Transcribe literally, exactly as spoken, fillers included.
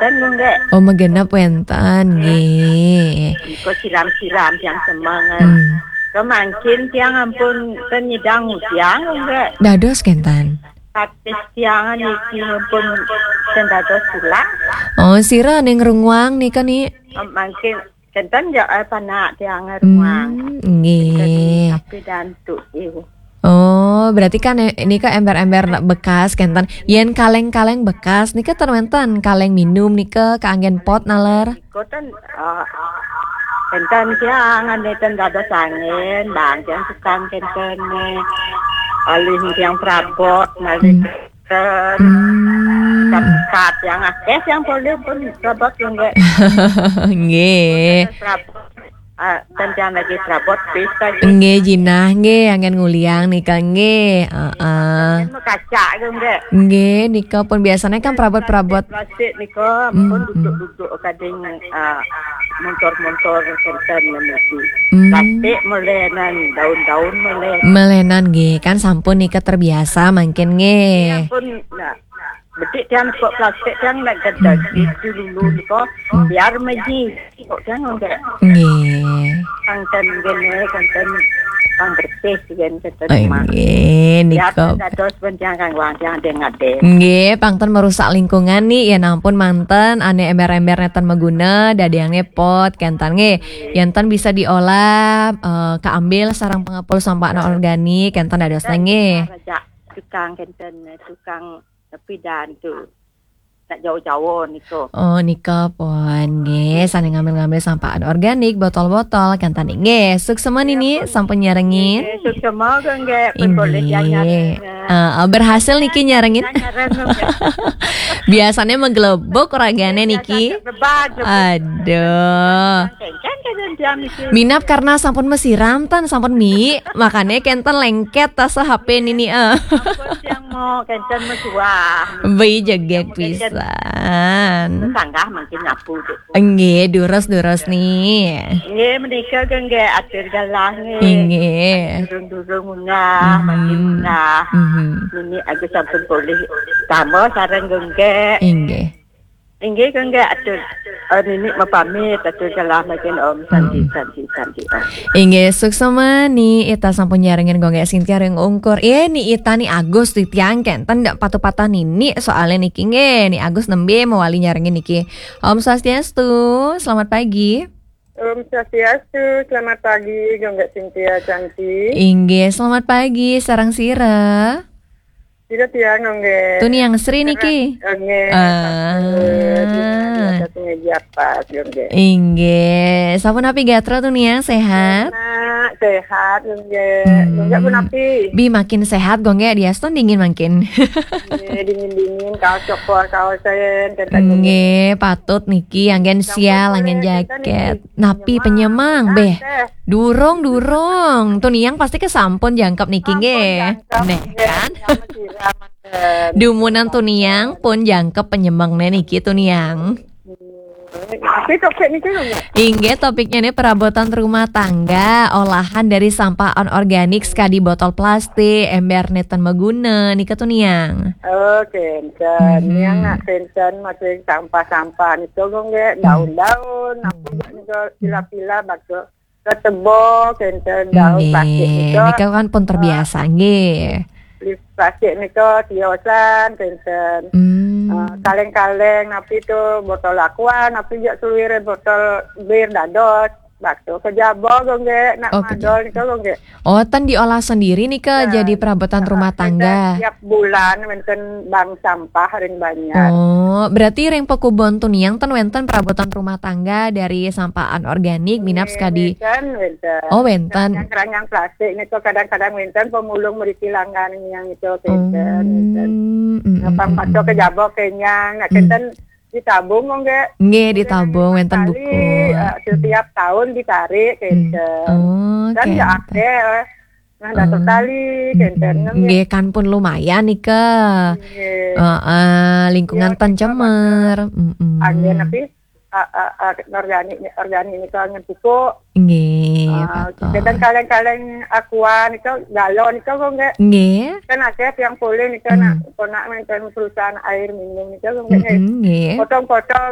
ten nggih. Oh, magenep wénten, nggih. Nika siram-siram tiang semengan. Hmm. Kemangkin tiang ampun ten nyidang udiang nggih. Dados kénten. Tapis tiang niki ampun ten dados tulak. Oh, sira ning runguang nika, Ni? Mangkin kénten ya, eh, panak tiang runguang. Hmm, nggih. Tapi dantuk iu. Oh, berarti kan, eh, nika ember-ember bekas kénten. Yén kaleng-kaleng bekas nika ten wénten, kaleng minum nika kaanggén pot naler. Nika ten, eh, kénten tiang ane ten dados angin, bang tiang tukang kénten, eh, alih tiang prabot, malih Hmm. kénten. Hmm. Kat-kat tiang akeh tiang polih pun prabot nggih. Nggih. Prabot. Ah, ten tiang lagi prabot pis lagi. Nggih, jinah nggih, anggén nguliang nika nggih. Heeh. Ten mau kacak ke nggih. Nggih, nika pun biasanya kan prabot-prabot. Plastik nika Hmm, pun hmm. duduk-duduk kading, ah, montor-montor kénten niki. Hmm. Plastik melenan, daun-daun melenan. Melenan nggih, kan sampun nika terbiasa mangkin nggih. Iya pun, nah, bedik tiang kok plastik tiang nak gedeg Hmm, hmm. itu dulu nika. Hmm. Biar meji kok tiang nggih. Nggih. Kang ten gene, kang ten kang bersih kan kang ten Oh, rumah. Nggih, Biar nika. Dados ben tiang kang wang tiang deng ade. Nggih, pangten merusak lingkungan nih, ya ampun manten, ane ember-ember neten maguna, dadiange pot, kénten nggih. Yén ten bisa diolah, eh, keambil sarang pengepul sampah anorganik, kénten dados nggih. Raja tukang kénten, tukang pidan tu. Tak jauh-jauh niku. Oh, nika pun nggih, sane ngambil-ngambil sampah anorganik, botol-botol, kénten nggih. Suksema Nini, sampun nyarengin. Nggih, suksema kok nggih, pun boleh Nggih. Nyareng. Eh, eh, berhasil niki nyarengin. Nyareng, nggih. Biasanya menggelebuk ragane niki. Bebak, bebak. Aduh. Kéngkén, kéngkén, diam niki. Minap karena sampun mesiram tan, sampun mi, makanya kénten lengket tas H P Nini, eh. Sampun tiang mau kénten mesuah. Beli jegek Kénten pisan. Sanggah mangkin nyapu, Dek. Nggih, durus-durus nih. Nggih, menika ke nggih atur galah nggih. Nggih. Durung-durung munggah, Mhm. Makin munggah. Mhm. Nini agus sampun polih. Tambah sareng nggih. Nggih. Inggih, kangge atur, eh, nini mapamit, atur galah makin Om Santi, Mm-mm. Santi, Santi, Om. Inggih, suksema Ni Ita sampun nyarengin kangge Sintia ring ungkur. Eh, Ni Ita, Ni Agus titiang kenten ndak patuh patah nini soalnya niki nggih. Ni Agus nembe mawali nyarengin niki. Om Swastiastu, selamat pagi. Om Swastiastu, selamat pagi, kangge Sintia Santi. Inggih, selamat pagi, sareng sira. Sira tiang, nggih. Tuniang Sri niki? Nggih, Ah. Patut. Di atas meja pas, nggih. Inggih. Sampun napi gatra Tuniang, sehat? Enak, sehat, nggih. Hmm. Nggih, pun napi? Bi makin sehat, nggih, diastun dingin makin. Nggih, dingin-dingin, kaos cokor, kaos sen, kenten, nggih. Nggih, patut niki, anggen Sampun sial, anggen boleh, kenten, jaket. Niki. Napi penyemang, Penyemang. Beh. Teh. Durung, durung. Tuniang pasti kesampun jangkep niki, Sampun nggih. Jangkep, nggih. Neh, kan? Sama sira, manten. Dumunan Tuniang pun jangkep penyemang neh niki Tuniang. Tapi topik niki lho, Mbak. Inggih, topiknya ini perabotan rumah tangga, olahan dari sampah anorganik sekadi botol plastik, ember neten maguna, nika Tuniang. Oh, kenten. Hmm. Yang nak kenten masih sampah-sampah niku, nggih, Hmm. Daun-daun, apa Hmm. juga niku, pila-pila, bakso. Ketebo, kenten, daun Nggih, plastik nika. Nika kan pun terbiasa, Eh, nggih. Plastik nika tiosan, kenten. Hmm. Eh, kaleng-kaleng, napi tu, botol aqua, napi jak seluruh botol bir dados. Bakso kejaba, nggih, nak Oh, madol kejaba. Nika, nggih. Oh, ten diolah sendiri nika Ya. jadi perabotan Ah, rumah kenten tangga. Tiap bulan, kenten bank sampah ring banjar. Oh, berarti ring pekubon Tuniang ten wenten perabotan rumah tangga dari sampah anorganik, minab Nggih, sekadi. Wenten, wenten. Oh, wenten. Keranjang-keranjang plastik niku kadang-kadang wenten pemulung mriki langgan yang itu wenten, wenten. Hmm, mm, Gampang mm, patok mm. Kejaba kenyang, nak Hmm. kenten ditabung kok nggih. Nggih, ditabung, wenten sekali, buku. Eh, setiap Hmm. tahun ditarik, Hmm. kenten. Oh, Dan ya kenten. Akeh, eh. Nah, datuk Hmm. tali, kenten, nggih. Nggih, kan pun lumayan nika. Nggih. Heeh, lingkungan Ya, ten nika cemer. Bagus. Mm-mm. Anggen napi? Ah, ah, ah, organik, organik nika anggen pupuk. Nggih, Ah, betul. Kadang kaleng-kaleng aqua nika, galon nika kok nggih. Nggih. Kan akeh tiang polih nika Hmm. nak, ponak menten perusahaan air minum nika kok nggih. Mm-mm, nggih. Potong-potong